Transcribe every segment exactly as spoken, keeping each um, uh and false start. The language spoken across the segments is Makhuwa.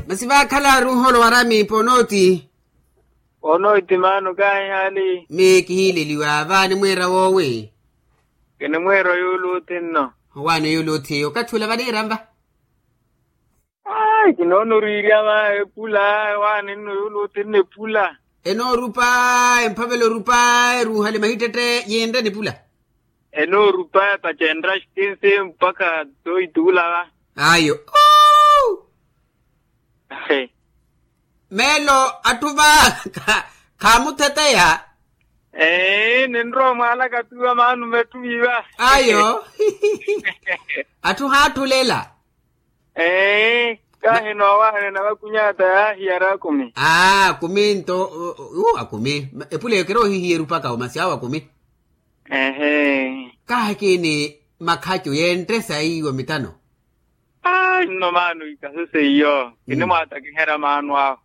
Masi vaakhala aruuholo waramiipa onooti. Onooti maano kaahi haali. Miyo kihiileliwa vaani mweera woowi. Kinimweera oyuuluuti nno. Owaani oyuuluuti eyo okathi ula vaniira mva? Ayi kinoona oriirya va epula. Owaani nno oyuuluuti nno epula. Enoorupa emphavela orupa eruuhale mahittette yinre nipula. Enoorupaya pacenra xtinsi mpakha toohituula va. Ayo. Meelo atthu va khaamutheteya. Ee ninrowa omwaalaka tuwa maano mettumi va. Ayo. Atthu haathulela. Ee kahi noowaanena vakunyaata yaahiyara akumi. Aa akumi nto. Akumi. Epula eyo kiri ohihiyeru paka omasi awo akumi. Ehe. Kahi kiini makhacu yentte saiiwo mitano. Ayi nno maano ikasese iyo kinimwaatakiherya maano awo.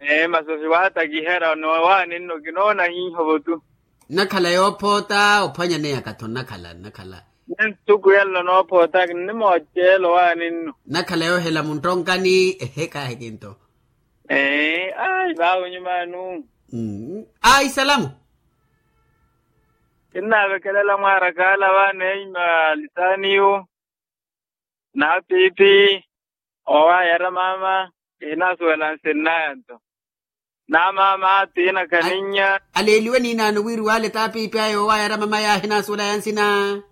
Ee masi ohiwaatakiherya noowaani nno kinoona hiihovo tu. Nnakhala yoophoota ophwanyaneya katho nnakhala nnakhala. Nsuku yallo noophoota kinnimooceela owaani nno. Nnakhala yoohela munttonkani ehe kahi kinto. Ee ayi vaavo nyumaanu. Ayi salamu. Kinnaavekelela mwaarakaala vaana eima lisaaniyu. Naapiipi owaayara maama. Kihinaasuwela nsinnaya nto. Naamaama tiina kaninnya. Aleeliwe niinaano wiri waale taapiipi aya owaayara maama yaahi naasuwelaya nsina.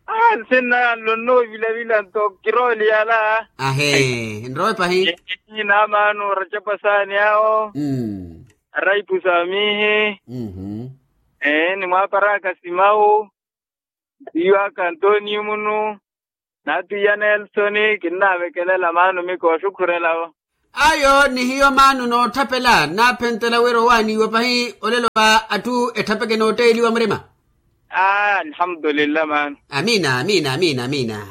Aa nsinnaya nlo nnoovilavila nto kirooliyala. Ahee nrowe pahi. Naamaano oracapa saani awo. Araipu saamiihi. Ee nimwaaparaka simawu. Iyo aka antoniyo munu. Naatwiya nelsoni kinnaavekelela maano miko oxukhurela vo. Ayo ni hiyo maano nootthapela nnaaphentela wira owaaniiwa pahi olelo va atthu etthapeke nootteeliwa murima. Aa alhamdulillah maano. Amiina amiina amiina amiina.